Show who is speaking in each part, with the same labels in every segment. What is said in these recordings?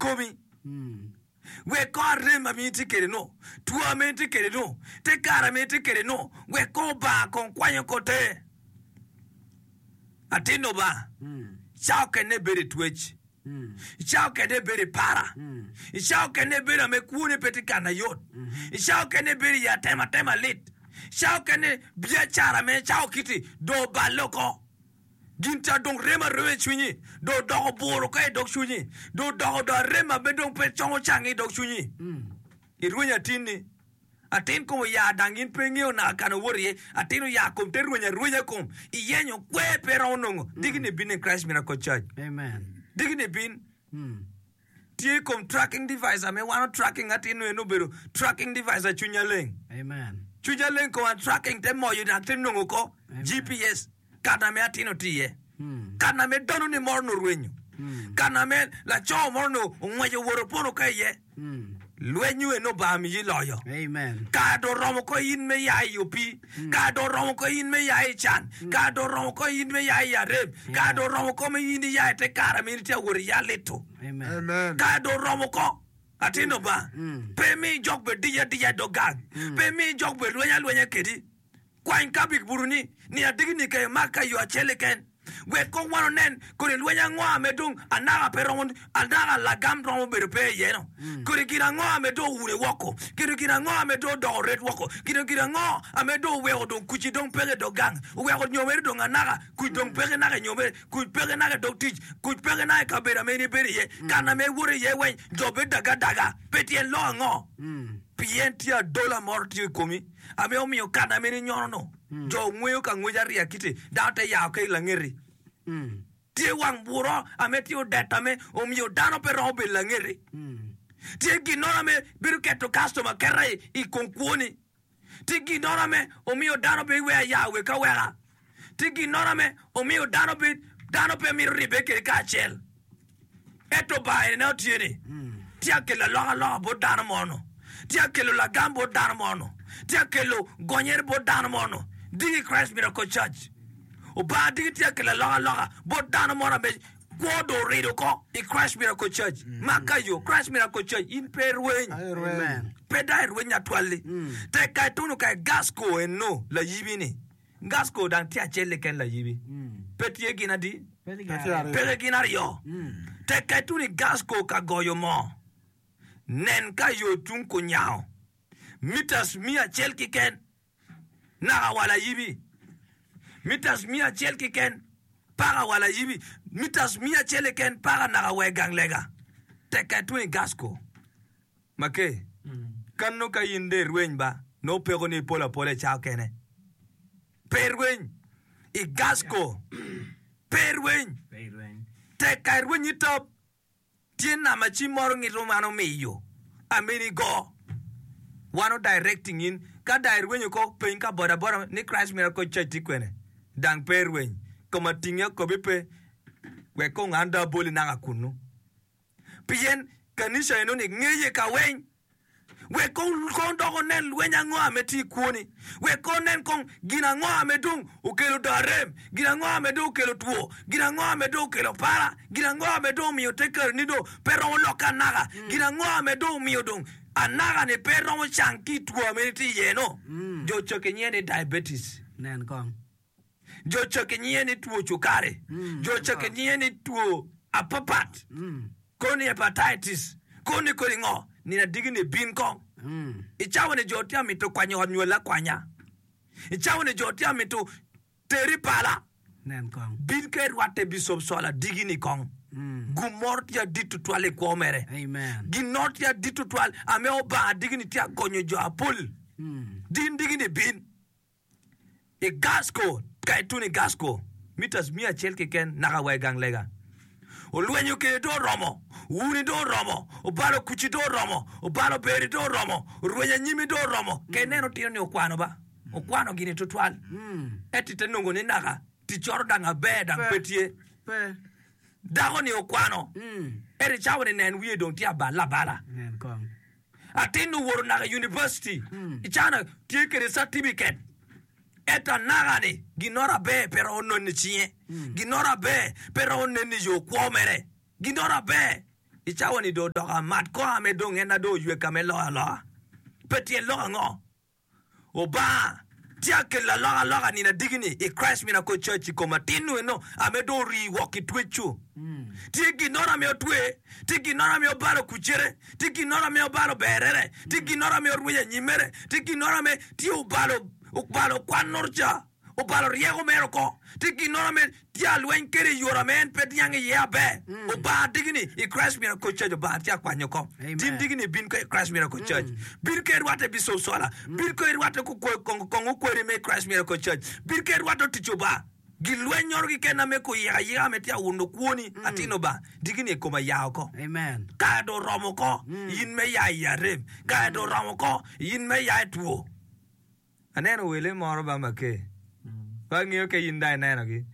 Speaker 1: komi. Wek kong arem ma in itye kwede nu, two ma in itye kwede nu, te kare ma in itye kwede nu, wek kong Obanga kong kwanyo ko te. Atin Lubanga, cawa okene ibedo i twec, cawa okene ibedo i para, cawa okene ibedo ame kwoni pe tye kana yot, cawa okene ibedo i atematema lit, cawa okene biacara me cawa kiti dong oballe oko. Gin ca dong remo arema i cwinyi, dong odoko bur oko i dog cwinyi, dong odoko dong arem ma dong pe congo cangi i dog cwinyi. Irwenyo atinni, atin kom oya dang in pe ingeyo naka kana owoto iye, atin oya kom te rwenyo arwenya kom, iyenyo kwer pe iromo nongo. Diki ni bin in Christ Miracle Church. Diki ni bin. Tye i kom tracking device ame wano tracking atin nongo en obedo tracking device a cwinya leng. Cwinya leng kom a tracking te moyo dok te nongo ko GPS kana me atin otye iye. Kana me dano ni moro nongo orwenyo. Kana me laco moro nongo ongweco owoto opono ka iye. Lweny eno Obanga miyi loyo. Kare dong oromo ko in me ya i opii. Kare dong oromo ko in me ya i can. Kare dong oromo ko in me ya i arem. Kare dong oromo ko me in iya i te kare ma in itye ka wot iya lito. Kare dong oromo ko, atin Lubanga, pe mi jok bed dic adica i dog gang. Pe mi jok bed lweny alwenya kedi. Kwany kabik butoni ni adiki-ni ka imak ka i yo acel keken. Wek kong wan onen kodi lweny ango ame dong anaka pe romo, anaka lagam romo bedo pe iye-nu. Kodi gin ango ame dong oune woko? Kodi gin ango ame dong odoko ret woko? Kodi gin ango ame dong oweko dong kuc-ci dong peke i dog gang? Oweko nyomere dong anaka, kuc dong peke naka i nyomere, kuc peke naka i dog tic, kuc peke naka i kabedo ame in ibedo iye, kana ame iwoto iye weng jo bedo daga adaga. Pe tyen lok ango? Pien tye adola moro tye i komi. Ame omiyo kana meno inyono-nu, jo ongweyo ka ngwec ariya kiti, dano te yao ki i langeti. Tye wang buro ame tye odet ame omiyo dano pe romo bedo i langeti. Tye ginnoro ame bedo keto kastoma aketa i kom kwoni. Tye ginnoro ame omiyo dano pe iweyo aya wek aweka. Tye ginnoro ame omiyo dano pe dano pe mito ribbe kede kacel. Ento Lubanga eni neno tye ni, tye ka kelo alokaloka bot dano mo-nu, tye ka kelo lagam bot dano mo-nu, tye ka kelo gonyere bot dano mo-nu. Diki Christ Miracle Church, Lubanga diki tye ka kelo alokaloka bot dano mo ame kwo dong orido oko i Christ Miracle Church. Ma ka yo, Christ Miracle Church, in pe irweny, pe dong irweny atwal-li. Tek ka ituno ka i Gasco eno layibi-ni. Gasco dang tye acel keken layibi. Pe tye gin adi? Peke gin aryo. Tek ka itun i Gasco ka goyo moo, nen ka yo tung kunyango mitas miya acel keken naka wa layibi. Mitas miya acel keken paka wa layibi. Mitas miya acel keken paka naka wa i gang lega. Tek ka itun i Gasco. Make, Kano ka in dong irweny ba, nongo peko ni ipolo apola i cawa kene. Pe irweny i Gasco. Pe irweny. Tek ka irweny i top, tye namba cim moro ngito man omiyo ameni go. Wan o directing in. Ka dong irwenyo ko, peny ka boda boda ni Christ Miracle Church tye kwene. Dang pe irweny. Koma tingi akobi pe. Wek kong an dong aboli naka kunu. Pien kanica enoni ngeye ka weng. Wek kong kong dok onen lweny ango ame tye i kwoni. Wek kong onen kong gin ango ame dong okelo dong arem, gin ango ame dong okelo two, gin ango ame dong okelo para, gin ango ame dong omiyo te kareni dong pe romo lokke anaka, gin ango ame dong omiyo dong anaka-ni pe romo cang ki i two ame itye iye-nu. Jo cake nyinge ni diabetes.
Speaker 2: Nen kong.
Speaker 1: Jo cake nyinge ni two cukari. Jo cake nyinge ni two apapat, kono ni hepatitis, kono ni kodi ngo. Nino adiki ni bin kong. I cawa ni jo tye mito kwanyo ot nywal akwanya. I cawa ni jo tye mito teri pala.
Speaker 2: Nen kong.
Speaker 1: Bin ka irwatte Bicop Sol adiki ni kong. Gum moro tye adit tutwal i kwo mere.
Speaker 2: Amen.
Speaker 1: Gin noro tye adit tutwal ame Obanga adiki ni tye agonyo jo apol. Din diki ni bin. I Gasco, ka ituno i Gasco, mitas miya acel keken naka wa i gang lega. Olwenyo kede dong oromo, owuni dong oromo, obalo kuci dong oromo, obalo beri dong oromo, orwenyo anyimi dong oromo. Ka ineno tino ni okwano ba, okwano gini tutwal. Ento ite nongo ni naka ticcoro dang aber dang pe tye. Dako ni okwano, ento i cawa ni nen wiye dong tye abal abala. Atin owoto naka i univaciti i cana tye kwede catibiket ento anaka-ni ginoro aber pe romo nonne i cinge, ginoro aber pe romo nenne i yo kwo mere, ginoro aber. I cawa-ni dong odoko amat kongo ame dong en na dong oywek ka me loyo aloka. Pe tyen lok ango? Obanga tye ka kelo alokaloka nino adiki-ni i Christ Miracle Church i kom atin-nu eno ame dong orii woko i twec-cu. Tye ginnoro ame otwe, tye ginnoro ame obalo kucere, tye ginnoro ame obalo berere, tye ginnoro ame orwenyo anyimmere, tye ginnoro ame tye obalo obalo kwannoro ca. Obalo ryeko mere oko. Tye ginnoro me tye alweny kede i yore ame en pe niang iye aber. Obanga digi ni i Christ Miracle Church Obanga tye akwanyo oko. Tin digi ni bin ko i Christ Miracle Church. Bin ko irwatte Bishop Sola. Bin ko irwatte kongo kweri me Christ Miracle Church. Bin ko irwatte otic Obanga. Gilwenyoro keken ame kuyiko ayika ame tye awuno kwoni atin Obanga. Digi ni i koma ya oko. Kare dong oromo oko in me ya i arem. Kare dong oromo oko in me ya i two. Aneno wele moro ba make. Pe angeyo ka in dong inenogi.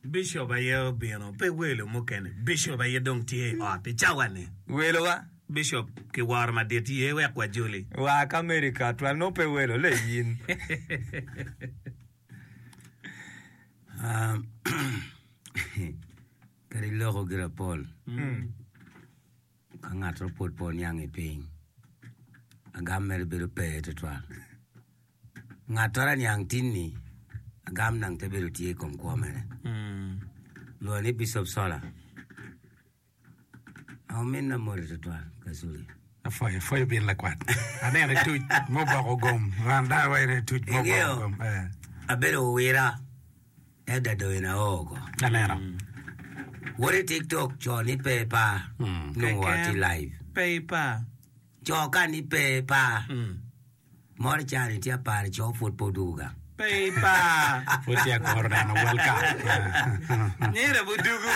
Speaker 2: Bishop aye obino, pe welo mukene. Bishop aye dong tye i ot i cawa-ni.
Speaker 1: Welowa.
Speaker 2: Bishop ki woro madit ye wek wajoli.
Speaker 1: Wa ka America twal nongo pe welo le in.
Speaker 3: Kadi iloko gire pol. Ka ngat mo pwod pe oniang i piny, agam mere bedo pe tutwal. Ngat twero aniang tin-ni, agam nang te bedo tye i kom kwo mere. Lwongo ni Bicop Sola. Ominna moti tutwal, Kaculi.
Speaker 4: Apwoyo, apwoyo bin lakwat. Aneno ituc muboko gom. Ran dano wa ineno ituc muboko
Speaker 3: Ingeyo,
Speaker 4: gom. Eh.
Speaker 3: abedo owira. Ento dong in ao oko.
Speaker 4: Aneno.
Speaker 3: Wot i tiktok co ni pe ipar nongo wa tye live.
Speaker 2: Pe ipar.
Speaker 3: Co ka ni pe ipar. Moro ca ni tye apar ni co pwod pe odwogo gang.
Speaker 2: Pe ipar.
Speaker 4: Pwod tye akuro neno World Cup.
Speaker 2: Nyira budugu.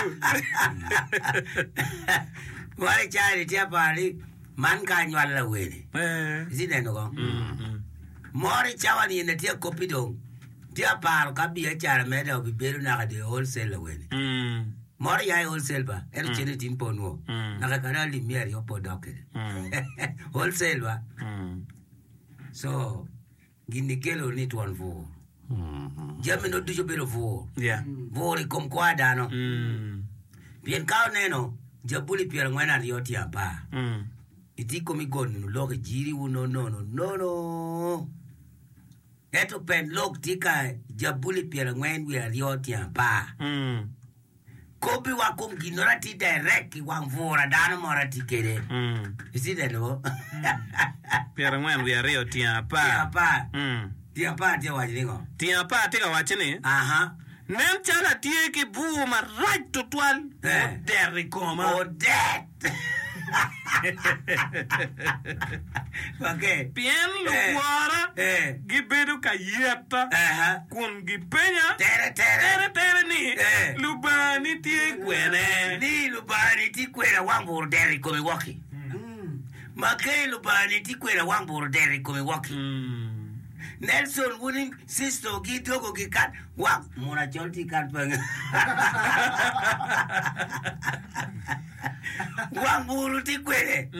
Speaker 3: Moro ca ni tye apar ni man ka anywalo lawene. Itye neno ko? Moro cawa ni en tye akopi dong. Tye aparo ka biacara meda obibedo naka dong i wholesale awene. Moro ya i wholesale ba, ento cente tin pe onwo. Naka kadi alip miya aryo pe odok kede. Wholesale ba. So, gin-ni kelo ni twon bur. Jami no ducu obedo bur. Bur i kom kwo a dano. Pien ka oneno Jabuli pyerangwen aryo tye apar, itye i kom i got nunu lok i jiri wu no nono nono. Ento pen lok tye ka Jabuli pyerangwen wiye aryo tyen apar. Kobbiwa kom ginnoro atir direct i wang bura dano moro atye kede. Itye neno bo?
Speaker 2: Pyerangwen wiye aryo tyen apar.
Speaker 3: Tyen apar. Tyen apar tye ka waco ni ngo?
Speaker 2: Tyen apar tye ka waco ni,
Speaker 3: Aha.
Speaker 2: Nen calo atye ki bur marac tutwal mudet i koma.
Speaker 3: Odet!
Speaker 2: Pien lukworra gibedo ka yeta kun gipenya teretere ni, Lubangani tye kwene?
Speaker 3: Ni Lubangani tye kwene awang bur odeto i komi woki. Make Lubangani tye kwene awang bur odeto i komi woki. Nelson wun sister gi dogo gi kan wang muna col tye kan pe Wang buru tye kwede.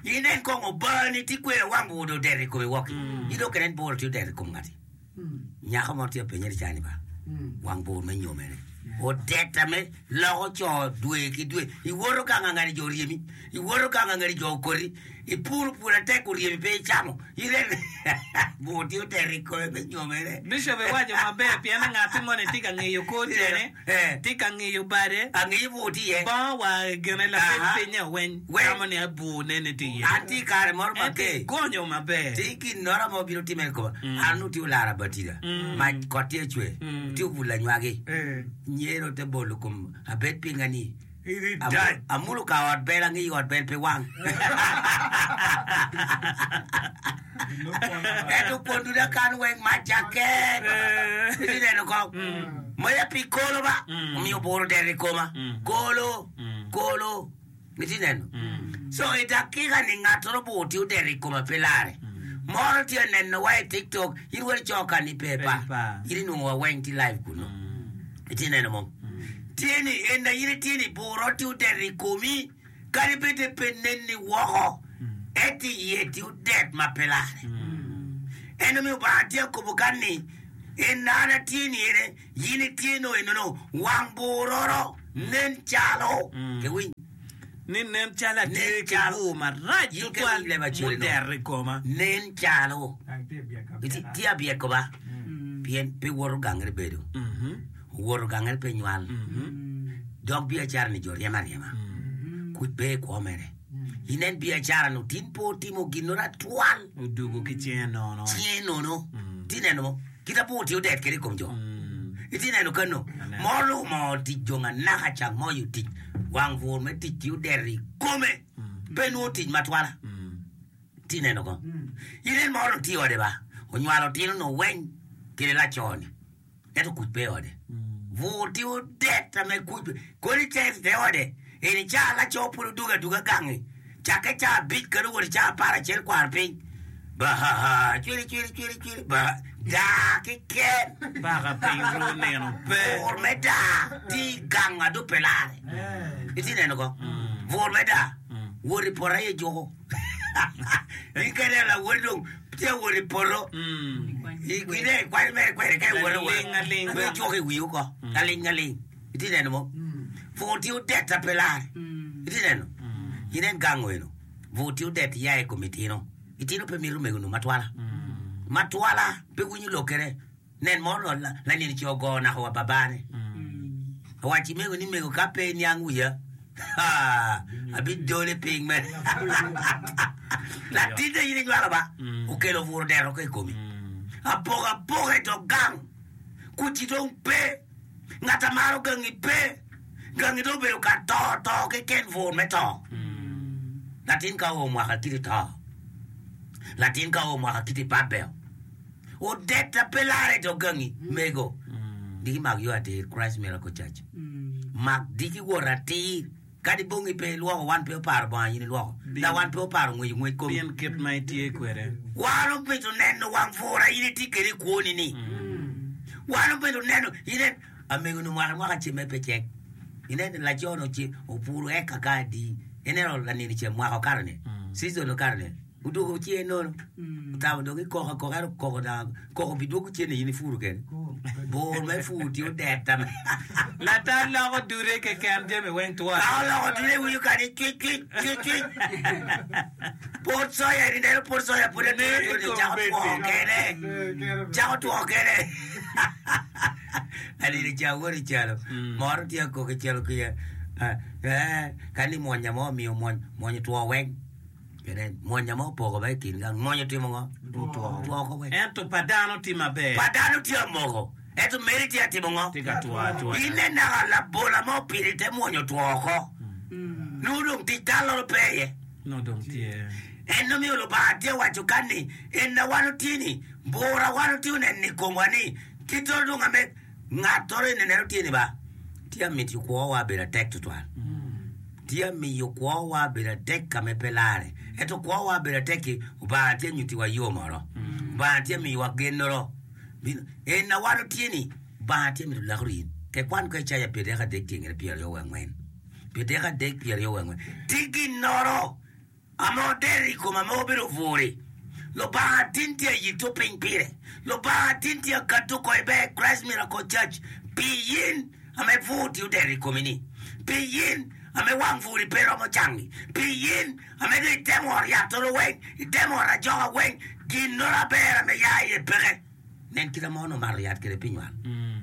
Speaker 3: Inen kong obani tye kwede wang buru dong odeto i kome woki. In dong kenen buru tye odeto i kom ngati. Nyako mo tye apenye ni cani ba wang bur me nyomene odeta me loko co dwe ki dwe. Iwoto gang angati jo oryemi, iwoto gang angati jo okoti, ipuro pur atek oryemi pe icamo. Inen bur tye odeto i kome me nyomene.
Speaker 2: Bishop iwaco maber pien ni ngati moni tye ka ngiyo kor tyene. Tye ka ngiyo bade, bongo wa gine lapeny pinye weng tamo ni abur nene tye iye.
Speaker 3: An tye i kare moro ma
Speaker 2: Ento
Speaker 3: ke
Speaker 2: igonyo maber.
Speaker 3: Tye ginnora ma obino timme i koma. An onongo tye olara batida, mac kot tye cwer, tye obulo anywagi, nyero te bolo kom abed pinga ni amulo ka ot bel angiyo ot bel pe wang. Ento kwon duda kan weng mac cakke. Itye neno kong? Maya pi kolo ba, omiyo oburo dero i koma. Kolo, kolo. Itye neno? So i dakika ni ngat oro bur tye odero i koma pe lare. Moro tye aneno wa i TikTok, in wod ico ka ni pe pa. In inwongo wa weng tye live kunu. Itye neno mo? Tye ni en in itye ni buro tye odero i komi. Kadi bed ni pe nenni woko, ento iye tye odet ma pe larre. En omiyo Lubanga tye ka kobo kan ni, En an atye ni ene, in itye no enono, wang buroro. Nen calo, kiwiny.
Speaker 2: Ni nen calo atye
Speaker 3: Nen
Speaker 2: ki
Speaker 3: calo.
Speaker 2: bur marac
Speaker 3: In ka
Speaker 2: tutwal
Speaker 3: iwiny leb acel-li no.
Speaker 2: mudeto i koma.
Speaker 3: Nen calo. Iti- Tye abyeko ba, pien pe woto gangre bedo. Owoto gangre pe nywal. Dok biacara-ni jo ryemo aryema. Kuc pe i kwo mere. Inen biacara-nu tin pe otimo ginnoro atwal.
Speaker 2: Odugo ki cinge nono.
Speaker 3: Cinge nono. Itye neno mo? Kit abur tye odet kwede i kom jo. Itye neno kano? Moro omoo tic jong anaka cang moyo tic. Wang bur me tic tye odet i kome. Pe nwo tic matwala. Itye neno ko? Inen moro tye i ode ba. Onywalo tino nu weng kede laco-ni. Ento kuc pe i ode. Bur tye odet ame kuc pe. Kodi tek te ode. Eni ca laco pud odugo aduga gangi. Cakke ca abic kadi owoto ca aparacel kwaro piny. Bahaha cwiri cwiri cwiri cwiri ba daa keken.
Speaker 2: Paka piny ru nino pe.
Speaker 3: Bur me daa tye i gang ado pe lare. Itye neno ko? Bur me daa. Wot i poto aye juko. In ka ineno lawoti dong tye ka wot i poto, ine ikwanyo mere kwede ka iwoto
Speaker 2: Aling aling.
Speaker 3: me juko i wii oko. Aling aling. Itye neno mo? Bur tye odet a pe lare. Itye neno? Inen gang eno. Bur tye odet iya i kom itino. Itino pe mito omego-nu matwala. Matwala pe winyo lokkere. Nen mo lanino ci ogo naka wa babane. Owacci mego ni mego ka pe iniang wiya, abidole piny mere. Latinne in inywalo ba, okelo bur odeto oko i komi. Apokapoka i dog gang, kuc-ci dong pe, ngat a maro gangi pe, gangi dong obedo ka to to keken bur me to. Latin ka oo mwaka kiti to, latin ka oo mwaka kiti babeo. Odetta pe lare i dog gangi, mego. Diki mak yo atir, Christ Miracle Church. Mak diki wot atir. Kadi bongi pe ilwoko, wan pe oparo bongo in ilwoko. La wan pe oparo ngweco ngwec komi.
Speaker 2: Pien kit ma itye kwede.
Speaker 3: Wan obedo neno wang bura in itye kwede i kwoni ni. Wan obedo neno, inen, amego-ni mwaka mwaka cemme pe cek. Inen laco-ni oce, opuro eka ka adi. Ineno lanino ce mwaka okato-ni, season okato-ni. Odwogo cinge nono, otamo dong ikoko akoka ento koko dong koko bidwogo cen ni in ipuro kene. Bur me pur tye odet ame.
Speaker 2: Latal loko dude keken jami weng twon.
Speaker 3: Ka oloko dude winyo kadi cwic cwic cwic cwic. Pot soya eni neno pot soya pud atura atura ni cako two kene. Cako two kene. Anino ca wot i calo moro tye akoko i calo kica eh kani mwonya mo omiyo mwony mwony otwo weng. Kene mwonya ma opoko ba i kin gang, mwonya otimo ngo?
Speaker 2: Otwo.
Speaker 3: Otwo oko weng.
Speaker 2: Ento pa dano tye maber.
Speaker 3: Pa dano tye amoko, ento meri tye atimo ngo?
Speaker 2: Tye ka two atwoya.
Speaker 3: In nen naka labola ma opito i te mwony otwo oko. Nongo dong tic talloro pe iye.
Speaker 2: Nongo dong tye.
Speaker 3: En omiyo Lubanga tye waco kan ni, En na wan otye ni, bura wan otye oneno i komwa ni, kitoro dong ame ngat-toro eni neno tye ni ba, tye amito kwowa bedo atek tutwal. Tye miyo kwowa bedo atek ka ma pe larre. Ento kwowa bedo atek-ki, Lubanga tye nyutiwa yo moro. Lubanga tye miyowa gennoro. En na wan otye ni, Lubanga tye mito lakoro in. Ke kwan ko Icaya pyerdek adek tyengere pyeraryo wiye angwen. Pyerdek adek pyeraryo wiye angwen. Ti ginnoro. Ame odero i koma ma obedo obwur-ri, Lubanga tin tye a yito piny pire. Lubanga tin tye a kato oko i ber Christ Miracle Church pi in ame bwur tye odero i komi-ni, pi in ame wang bwur-ri pe romo cangi, pi in ame dong itemo ot yat-toro weng, itemo ot ajoka weng, ginnoro aber ame ya iye peke. Nen kit ma onongo omato yat kwede pi nywal.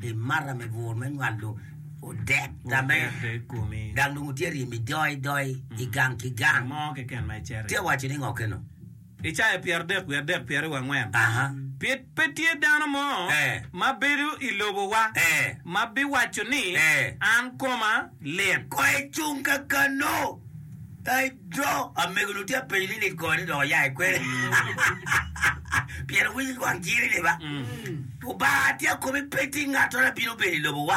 Speaker 3: Imato ame bur me nywal dong odet ame gang dong otye ryemi doi doi i gang ki gang. Tye waco ni ngo keno?
Speaker 2: Icaya pyeradek wiye adek pyeraryo wiye angwen. Pe tye dano mo ma bedo i lobowa ma biwaco ni, 'An koma lit.
Speaker 3: Ko icung kakano. Ai do, amego-ni tye ka penyo ni lit kore ni dok oya i kwene. Pien owinyo wang jiri-ni ba. Lubanga tye akobi pe tye ngat ma bino bedo i lobowa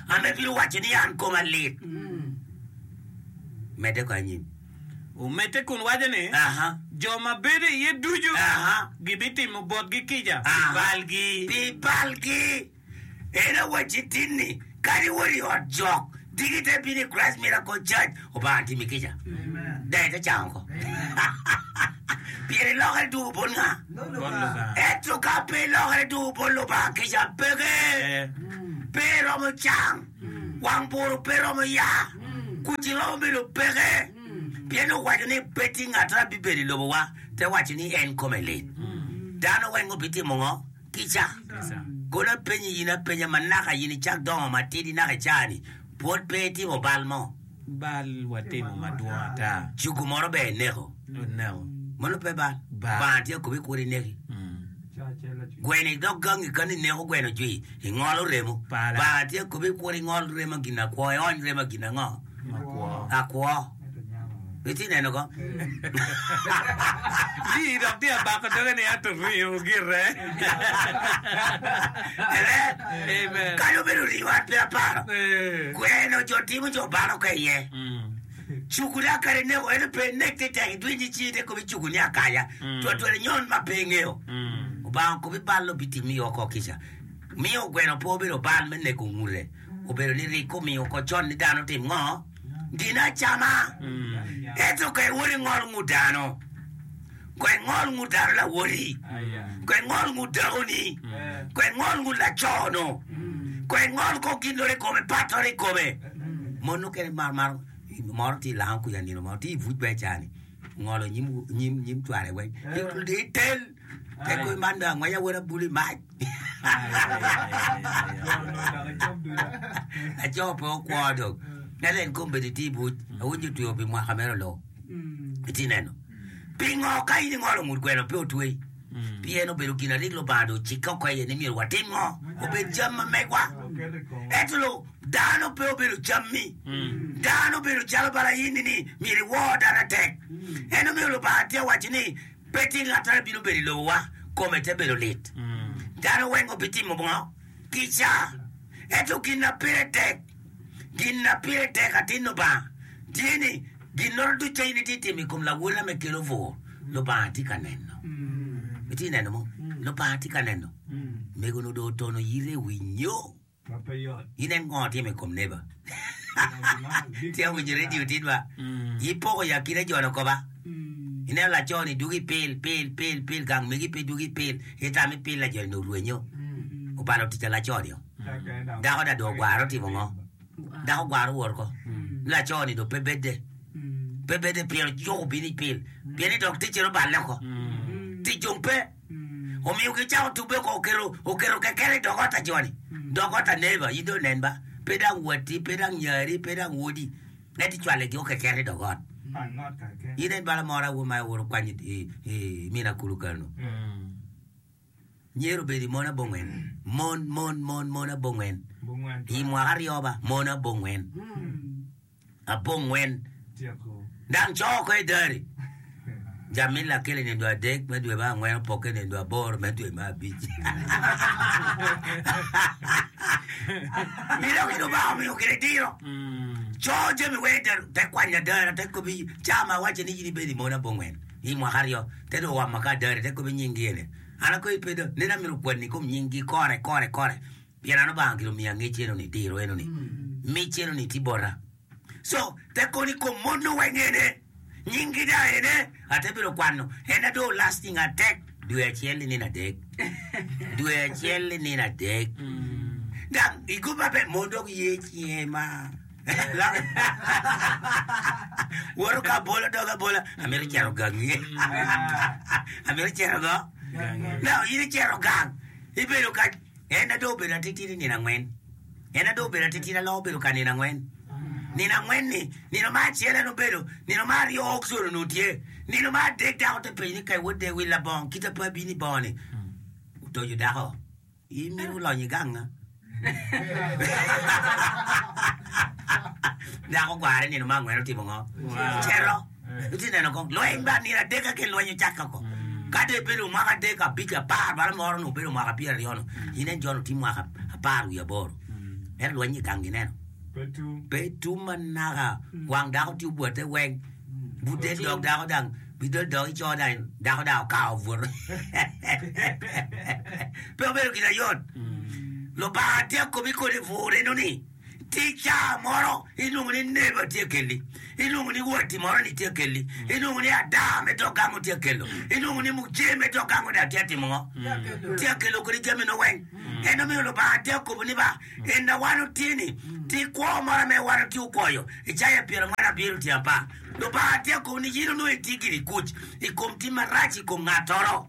Speaker 3: ame bino waco ni an koma lit. Medde ko anyim.
Speaker 2: Omedde kun waco ni, Jo ma bedo iye ducu gibitimo botgi kica pi balgi.
Speaker 3: Pi balgi. En owacci tin ni, Kadi iwot i ot jok, diki ite bino i Christ Miracle Church, Obanga timi kica. Dong ite cango oko. Pien ilokere dwogo bot nga?
Speaker 2: Bot Lubanga.
Speaker 3: Ento ka pe ilokere dwogo bot Lubanga, kica peke. Pe iromo cang. Wang buru pe romo ya, kuc romo bedo peke. Pien owaco ni pe tye ngat ma bibedo i lobowa te waco ni en kome lit. Dano weng obitimo ngo? Kica. Kono apenyi in apenya ma naka in icak dongo matidi naka i caa-ni, pwod pe itimo bal mo?
Speaker 2: Bal watimo madwong ata.
Speaker 3: Cugu moro ber ineko.
Speaker 2: Oneko.
Speaker 3: Mano pe bal.
Speaker 2: Bal.
Speaker 3: Banga tye akobi kwo ineki. Gweno idok gangi kany ineko gweno jwi, ingolo remo.
Speaker 2: Pala.
Speaker 3: Banga tye akobi kwo ingol remo gin akwo, iony remo gin ango?
Speaker 2: Makwo.
Speaker 3: Akwo. Itye neno ko?
Speaker 2: Ii dok tye abako doge ni ento ringo gire.
Speaker 3: Amen.
Speaker 2: Amen.
Speaker 3: Kadi obedo ringo an pe aparo.
Speaker 2: Eh.
Speaker 3: Gweno jo timo jo balo ka iye.
Speaker 2: Mm.
Speaker 3: Cuku da kadi neko ento pe nek te tek idwiny ci te kobi cuku ni akaya.
Speaker 2: Mm.
Speaker 3: Twatwal inyon ma pe ingeyo.
Speaker 2: Mm.
Speaker 3: Obanga okobi bal obitimi oko kica. Miyo gweno pe obedo bal me neko ngute. Obedo ni rik omiyo oko con ni dano otim ngo? Gin acama. Ento ka iwot ingol ngut dano, ko ingol ngut dano lawoti, ko ingol ngut dakoni, ko ingol ngut laco-nu, ko ingol ko gin loro i kome, patoro i kome. Mon mukene maro maro moro tye i lango kuca nino mo tye i buc bene cani ngolo nyim nyim nyim cware weng itel te kor man dong angweca wot abulu i mac. Laco pe okwo dong. Ento en kombeddi tye i buc, awinyo otweyo pi mwaka mere olo. Itye neno? Pingo ka in ingolo ngut gweno pe otweyi? Pien obedo gin arik Lubanga dong ocikke oko iye ni myero watim ngo? Obed jam ma megwa. Ento lo dano pe obedo jammi. Dano obedo calo bala in-ni ni myero iwor dano atek. En omiyo Lubanga tye waco ni Pe tye ngat ma bino bedo i lobowa kome te bedo lit. Dano weng obitimo ngo? Kica. Ento gin na pire tek, gin na pire tek atin Lubanga tye ni ginnoro ducu in itye timo i kom lawota me kelo bur, Lubanga tye ka neno. Itye neno mo? Lubanga tye ka neno. Mego-nu dong otono yite i wi nyo. Inen ngo timo i kom neba? Tye winyo radio tin ba? Ipoko i akina jo-ni oko ba? Ineno laco-ni dwogo i pil, pil, pil, pil, gang megi pe dwogo i pil, itamo i pil laco-ni dong orwenyo, obalo tic pa laco-ni-o. Dako da dong ogwaro otimo ngo? Dako ogwaro owot oko. Laco-ni dong pe bedde, pe bedde pien ojuko bino i pil, pien ni dong ticce oballe oko. Tic dong pe. Omiyo gicako tubbe oko, oketo, oketo kekene i dog ot a jo-ni, dog ot a neba, in dong inen ba, pe dang watti, pe dang nyari, pe dang wodi, ento icwale-gi o kekene i dog ot. In en bala moro awo ma iwoto kwanyo i, i mina kulu kanu. Myero obed i mon abongwen, mon, mon, mon, mon abongwen, i mwaka aryo ba, mon abongwen. Abongwen. Dang co oko i dari. Jammi lakele nindo adek me dwe me angwen opokke nindo aboro me dwe me abic. Iloko i Lubanga omiyo kede diro. Co jami weng te te kwanyo adara te kobi ca ma awaco ni in ibedo i mon abongwen i mwaka aryo te dong owamo ka adari te kobi nyinggi ene. An akoyi pe do nen amito kwani i kom nyinggi kore kore kore. Pien an Lubanga gin omiya ngec eno-ni, diro eno-ni, mic eno-ni tye bota. Co, te kono i kom mon-nu weng ene, nyinggi da ene, ate bedo kwano, en adong lasting atek dwe acel i nino adek, dwe acel i nino adek. Dang i gup maber, mon dok ye cinge ma woto ka abola dog abola, amito cito gangi, amito cito go? Now in icito gang, ibedo ka En adong obedo atitidi nino angwen. En adong obedo atitidi aloko obedo ka nino angwen. Nino angwen-ni, nino me acel en obedo, nino me aryo Okson onongo tye, nino me adek dako te penyo ni ka iwod de wil labongo kite pe abino i bongo-ni. Otoco dako, in mito lonyo i ganga? Dako ogware nino me angwen otimo ngo? Cito. Itye neno kong lweny ba nino adek keken lweny ocakke oko. Ka dong ibedo mwaka adek, abic, apar, bala moro nongo obedo mwaka pyeraryo no, inen jo-nu tye mwaka apar wiye aboro. Ento lweny i gang gineno pe tum manaka. Wang dako tye obwote weng, but del dog dako dang, but del dog ico dang dako dang okawo obuto. Pe obedo gin ayot. Lubanga tye akobi kodi bur eno ni. Tye caa moro ilwongo ni neba tye kelli, ilwongo ni watti moro ni tye kelli, ilwongo ni adaa me dog gango tye kelo, ilwongo ni muje me dog gango dong tye atimo ngo? Tye akelo kodi jami no weng. En omiyo Lubanga tye okobo ni ba, En a wan otye-ni, tye kwo mo ame wan otye okwoyo. Icaya 47 tyen apar. Lubanga tye okobo ni yin onongo itye giri kuc i kom tim marac i kom ngattoro.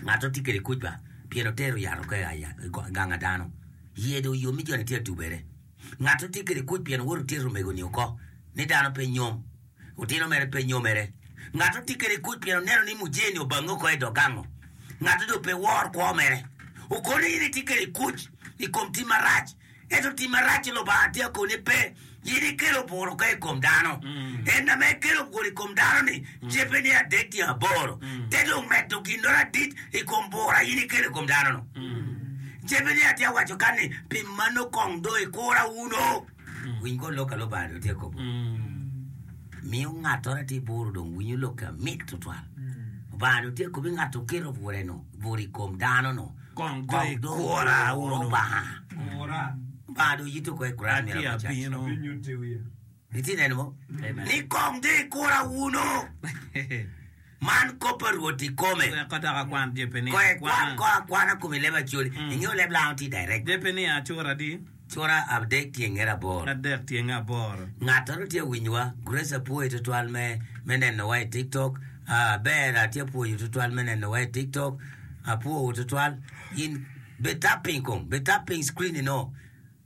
Speaker 3: Ngatto tye kede kuc ba, pien otero yat oko i gang a dano. Iye dong yom ni joni tye atubere. Ngatto tye kede kuc pien owoto otyero omego-ni oko ni dano pe nyom. Otino mere pe nyomere. Ngat tye kede kuc pien oneno ni mujee-ni obange oko i dog gango. Ngat dong pe wor kwo mere. Okone in itye kede kuc i kom tim marac, ento tim marac-ci Lubanga tye akoni pe. In ikelo bur oko i kom dano. En ame ekelo bur i kom dano-ni, jebbe ni adek tyen aboro. Te dong medo ginnoro adit i kom bur a in ikelo i kom dano-nu. Jebbe ni atye awaco kan ni, Pi mano kong dong ikura wunu. Winy kong lok a Lubanga dong tye ka kobo. Miyo ngattoro atir buru dong winyo lokke amit tutwal. Lubanga dong tye ka kobo ni ngat oketo bure-nu, bur i kom dano-nu,
Speaker 2: Kong dong
Speaker 3: kong dong
Speaker 2: ikura
Speaker 3: okur
Speaker 2: wunu.
Speaker 3: Lubanga. Lubanga dong yito kong i kura
Speaker 2: Atye
Speaker 3: myero ocac.
Speaker 2: abino.
Speaker 3: Itye neno mo?
Speaker 2: Amen.
Speaker 3: Ni kong dong ikura wunu. Man kop pa Rwot ikome.
Speaker 2: Wek dok akwan Jepenia
Speaker 3: Kong ikwan
Speaker 2: akwana.
Speaker 3: kong akwana kome i leb Acholi. Ingeyo leb Lango tye direct.
Speaker 2: Jepenia cura adi?
Speaker 3: Cura adek tyenge aboro.
Speaker 2: Adek tyenge aboro.
Speaker 3: Ngat oro tye winyowa. Grace apwoyi tutwal me me nenowa i tiktok. Ah, ber atye apwoyo tutwal me nenowa i tiktok. Apwowu tutwal. In be tapping kong, be tapping screen ino.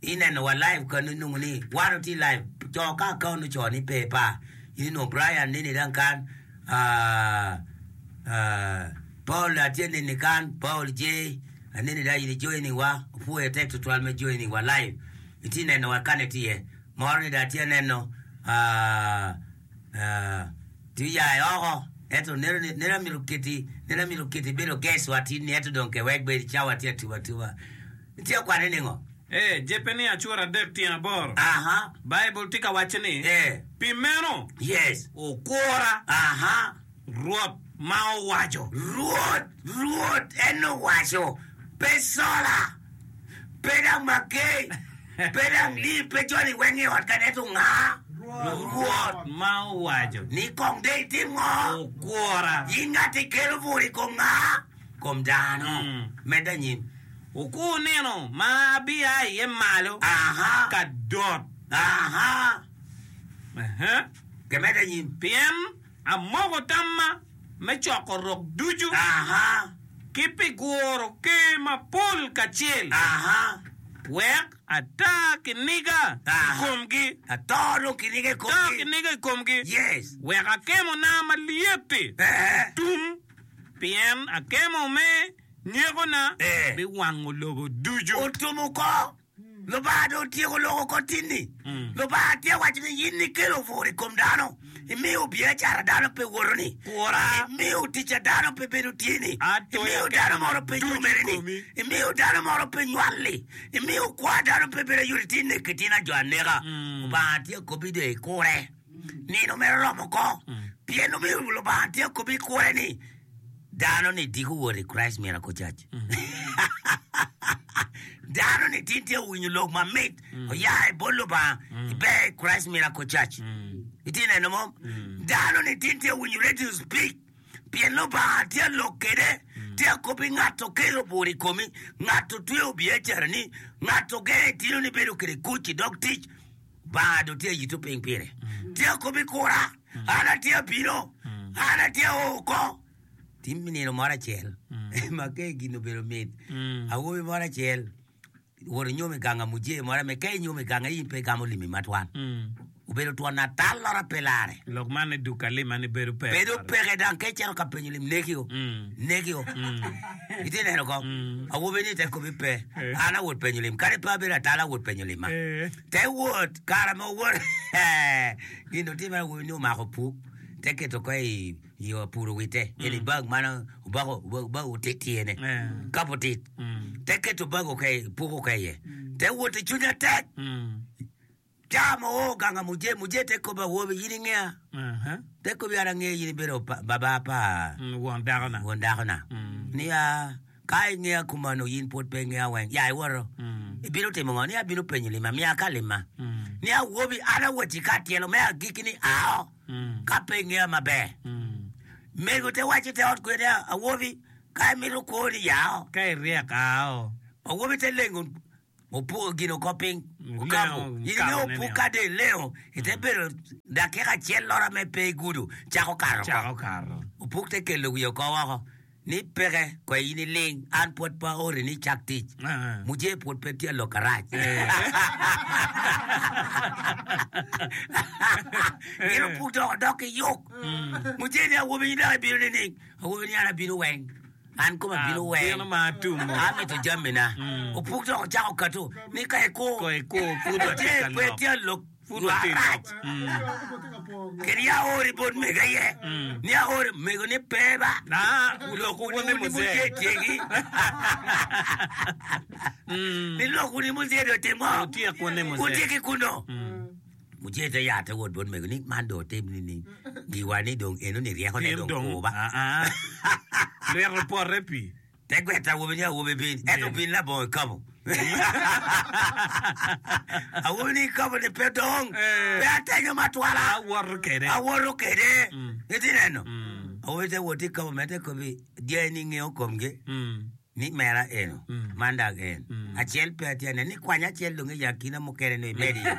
Speaker 3: Ineno wa live kanu inongo ni wan watye live co ka account oco ni pe pa in inongo Brian nini dang kan ah, ah, Paul atye nini kan Paul J aneni dang in i joining wa opwoyo tek tutwal me joining wa live itye neno wa kane tye iye moro ni dang atye aneno ah, ah, tye ya i oko ento neno ni neno amito keti neno amito keti bedo guest wa tin ni ento dong ke wek bed cawa tye atuba atuba Itye ka kwane ningo?
Speaker 2: Ee, Jepenia cura adek tyen aboro.
Speaker 3: Aha.
Speaker 2: Baibul tye ka waco ni,
Speaker 3: Ee.
Speaker 2: Pi meno,
Speaker 3: Yes.
Speaker 2: okura
Speaker 3: Aha.
Speaker 2: Rwot ma owaco.
Speaker 3: Rwot, Rwot en owaco, pe cola, pe dang makei, pe dang lim, pe joni weng i ot kany, ento nga? Rwot.
Speaker 2: Ma owaco.
Speaker 3: Ni kong dong itim ngo?
Speaker 2: Okura.
Speaker 3: In ngat ikelo bur i kom nga? Kom dano. Medde anyim.
Speaker 2: Wukur nino ma abia iye malo ka dot. Pien amoko tamma me coko rok ducu ki pi guro ker mapol kacel, wek ata kiniga i komgi, ata kiniga i komgi, wek akemona malyet-ti otum, pien akemo me Nyekona biwango lobo ducu.
Speaker 3: Otum oko. Lubanga dong otyeko lok oko tinni. Lubanga tye waco ni, In ikelo bur i kom dano, imiyo biacara dano pe woto-ni, imiyo tic a dano pe bedo tye-ni, imiyo dano moro pe nyomere-ni, imiyo dano moro pe nywal-li, imiyo kwo a dano pe bedo ayot, itye neko itino jo aneka. Lubanga tye kobbi dong ikure. Nino mere oromo oko, pien omiyo Lubanga tye kobbi ikure ni, Dano ni diko wot i Christ Miracle Church. Dano ni tin tye owinyo lok mamit oya i bot Lubanga iber i Christ Miracle Church. Itye neno mo? Dano ni tin tye owinyo radio speak pien Lubanga tye lok kede tye akobi ngat okelo bur i komi, ngat otweyo biacarani, ngat ogenge itino ni bedo kede kuc i dog tic. Lubanga dong tye ayito piny pire. Tye akobi kura. An atye abino, an atye ao oko. Tim nino moro acel ma ka gin obedo mit, awobi moro acel owoto nyomo i gang amuje moro ame ka inyomo i gange in pe igamo limi matwal. Obedo twon atallora pe lare.
Speaker 2: Lok man ni duk alima ni bedo peke.
Speaker 3: Bedo peke dang ka icito ka penyo lim nekio, nekio. Itye neno ko? Awobi ni te kobi pe. An awot penyo lim. Kadi pe abedo atala awot penyo limma. Te wot, kare ma owot gin otimme awobi ni omako puk te keto oko i i apuro wite eni bag man obako bag otit tyene kap otit te keto bag oko i puk oko iye te wot i cwinye tek ca ma oo gang muje muje te kobo awobi in ingea te kobi an angeyo in ibedo baba pa
Speaker 2: Won dakona.
Speaker 3: won dakona ni a Ka ingeya kumano, in pwod pe ingeya weng. Ya iwoto, ibino timo ngo? Ni abino penyo limma, miya ka limma. Ni awobi, an awoti ka tyelo me agikki ni ao, ka pe ingeya maber. Mego te waco te ot kwede, awobi, ka imito kwoni, yao.
Speaker 2: Ka iryek, ao.
Speaker 3: Awobi te lengo opuko gin oko piny, okabo.
Speaker 2: Lengo,
Speaker 3: In ingeyo
Speaker 2: okabone
Speaker 3: opuk
Speaker 2: nio.
Speaker 3: ka dong ilengo, ite bedo dakika acel lora me pe igudo, cako kato oko.
Speaker 2: Cako kato.
Speaker 3: Opuk te kelo wiye oko woko ni peke, kwe in iling, an pwod pe aori ni icak tic.
Speaker 2: Ah.
Speaker 3: Mujee pwod pe tye alok arac. Gin opuk dok odok ki yuk. Mujee ni awobi in dok ibino nining? Awobi ni an abino weng. An koma bino weng.
Speaker 2: Abino ma atumo.
Speaker 3: Amito jamina. Opuk dok ocako kato ni ka ikur.
Speaker 2: Ka ikur, pud watye ka
Speaker 3: Pe
Speaker 2: lok.
Speaker 3: tye alok
Speaker 2: Pud watye
Speaker 3: marac.
Speaker 2: lok.
Speaker 3: Kadi aori bot mego aye. Ni aori mego ni pe ba.
Speaker 2: Ah, lokwu ni muzee.
Speaker 3: Tyeki. Ni lokwu ni muzee dong otim ngo?
Speaker 2: Wutyek wun ni muzee.
Speaker 3: Wutyek ki kuno. Muzee te yat te wot bot mego ni man dong otim nining? Giwa ni dong eno ni ryeko ne
Speaker 2: Pien
Speaker 3: dong
Speaker 2: dong,
Speaker 3: kur ba.
Speaker 2: ah, ah. Lwit opote pi.
Speaker 3: Te gwet awobi ni awobi bin, ento bin labongo kikapo. Awobi ni kikapo ni pe dong,
Speaker 2: Eh.
Speaker 3: pe atenyo matwala.
Speaker 2: Awoto kede.
Speaker 3: Awoto kede. Itye neno? Awobi te wot ki kikapo mere te kobi dyangi ni ngeyo komgi.
Speaker 2: Mm.
Speaker 3: Ni mera eno, man dok en. Acel pe atye aneno ni kwany acel dong i akina mukene nongo imedo iye.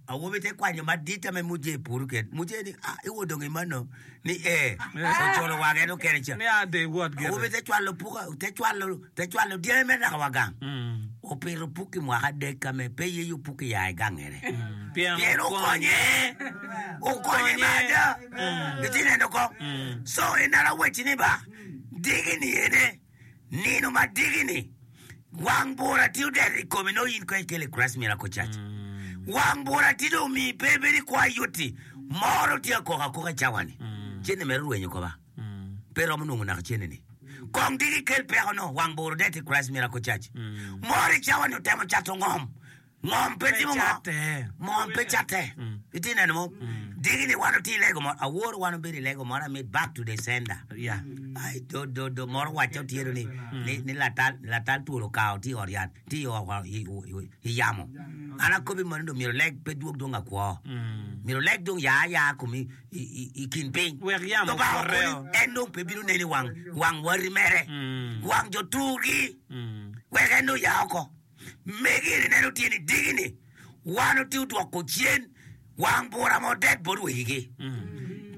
Speaker 3: Awobi te kwanyo madit ame muje puru ked. Muje ni, ah, iwo dong imano? Ni ee. Oculo wange en okene ca.
Speaker 2: Ni a de iwot gire.
Speaker 3: Awobi te cwalo puka, te cwalo, te cwalo dyangi me naka wa gang. Opito puk i mwaka adek ame pe yeyo puk i ya i gangene.
Speaker 2: Pien
Speaker 3: Pien okonye. Okonye me ada. Itye neno kong? So ineno awecci ni ba. Diki-ni ene, nino ma diki-ni, wang bura tye odeto i komi nongo in kong ikelo i Christ Miracle Church. Wang bura tye dong omiyi pe ibedo i kwo ayutti, moro tye akok akoka i cawa-ni. Cente mere orwenyo ko ba? Pe romo nongo naka cente-ni. Kong diki ikel peko-nu, wang bura odeto i Christ Miracle Church. Moro i cawa-ni otemo cato ngom. Ngom pe timo ngo? Ngom pe catte. Itye neno mo? Diki ni wan otye i lego moro. Awor wan obedo i lego moro amit back to the sender. Ai do do do moro wacca otyeno ni ni ni latal latal twol okawo tye i ot yat tye i i yamo. An akobi meno dong myero leg pe dwog dong akwo. Myero leg dong ya aya komi i kin piny.
Speaker 2: Wek yamo
Speaker 3: Lubanga
Speaker 2: okwote
Speaker 3: okoni
Speaker 2: o.
Speaker 3: en dong pe bino neni wang wang wari mere. Wang jo turgi. Wek en dong ya oko. Megi eni neno tye ni diki ni wan otye odwoko cen wang bura ma odet bot wegigi.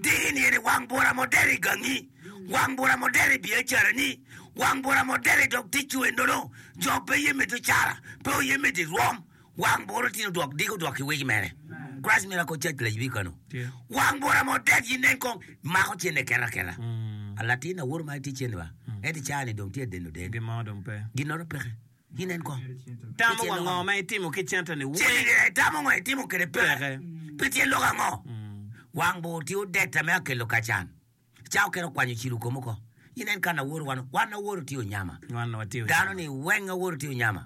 Speaker 3: Diki ni eni wang bura ma odet i gangi, wang bura ma odet i biacarani, wang bura ma odet i dog ticwu enono, jo pe ye medo cara, pe oye medo i rwom, wang bura tye ni odwok diki odwok ki wegi mere. Christ Miracle Church layibi kano. Wang bura ma odet yi nen kong mako cene keta keta. Latin awoto ma tye cene ba, ento i caa ni dong tye adeno den. Ginoro peke. Ginen kong.
Speaker 2: Tamo wa ngo ma itimo ki cente-ni weng.
Speaker 3: Cente-ni itamo ngo itimo kwede peke. Pi tyen lok ango? Wang bor tye odetta me akelo kacan. Ca okene okwanyo cilo kome oko. Inen kan aworo wan, wan aworo tye onyama. Dano ni weng aworo tye onyama.